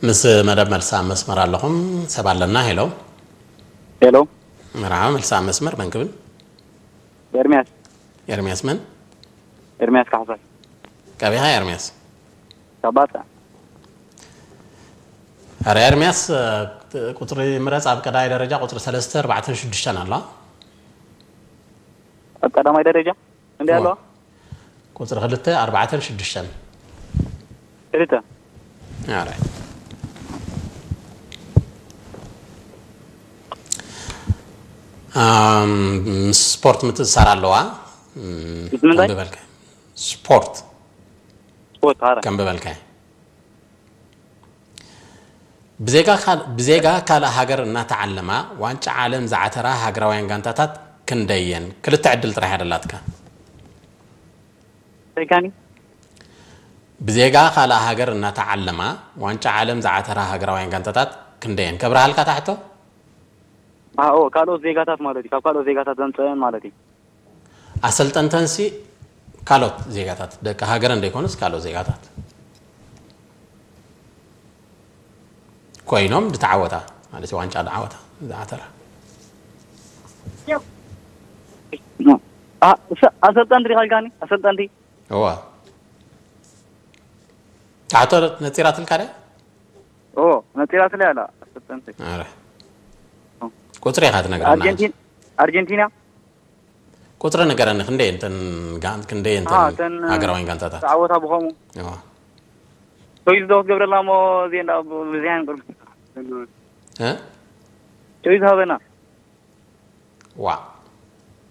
ምስ መደብ መልሲ ኣብ መስመር ኣለኹም። ሰብ ኣለና። ሄሎ። ሄሎ። መርሓባ፣ መልሲ ኣብ መስመር፣ መን ክብል? ኤርሚያስ። ኤርሚያስ መን? ኤርሚያስ ካሕሳይ። ቀቢኻ ኤርሚያስ? ካባጣ። ኣረ ኤርሚያስ፣ ቁፅሪ ምረፅ። ኣብ ቀዳማይ ደረጃ ቁፅሪ ሰለስተ፣ ኣርባዕተን ሽዱሽተን ኣለዋ። ኣብ ቀዳማይ ደረጃ እንዲ ኣለዋ? ቁፅሪ ክልተ፣ ኣርባዕተን ሽዱሽተን። ክልተ። ኣረ ምስ ስፖርት ምትእሳር ኣለዋ። ምስ ምንታይ? ከም ዝበልካ ስፖርት ስፖርት። ኣረ ከም ዝበልካ ብዜጋ ካል- ብዜጋ ካልእ ሃገር እናተዓለማ ዋንጫ ዓለም ዝዓተራ ሃገራውያን ጋንታታት ክንደየን? ክልተ ዕድል ጥራሕ እያ ደላትካ። ሰይካኒ። ብዜጋ ካልእ ሃገር እናተዓለማ ዋንጫ ዓለም ዝዓተራ ሃገራውያን ጋንታታት ክንደየን? ከብርሃልካ ታሕቶ? ኣዎ፣ ካልኦት ዜጋታት ማለት እዩ። ካብ ካልኦት ዜጋታት ዘምፀአን ማለት እዩ። ኣሰልጠንተንሲ ካልኦት ዜጋታት፣ ደቂ ሃገረን ዘይኮኑስ ካልኦት ዜጋታት ኮይኖም ዝተዓወታ ማለት እዩ። ዋንጫ ዝዓወታ፣ ዝዓተራ። ኣ- ሰ- ኣሰልጠንቲ ዲኻ ኢልካኒ? ኣሰልጠንቲ። እዋ፣ ታሕቶ ነፂራትልካ ድያ? ኦ፣ ነፂራትለይ ኣላ ኣሰልጠንቲ። ኣረ፣ ቁፅሪ ኢኻ ትነግረና። ኣርጀንቲን ኣርጀንቲና። ቁፅሪ ንገረኒ፣ ክንደይ እንተን ጋን፣ ክንደይ እንተን ኣሃ፣ እተን ሃገራውያን ጋንታታት? ተዓወታ ብኸሙ እዋ። ቶይዝ ዶ ክትገብረላ እሞ እዚአን ዳ ብዚያን ቅርብ እ? ቶይዝ ሃበና። ዋ፣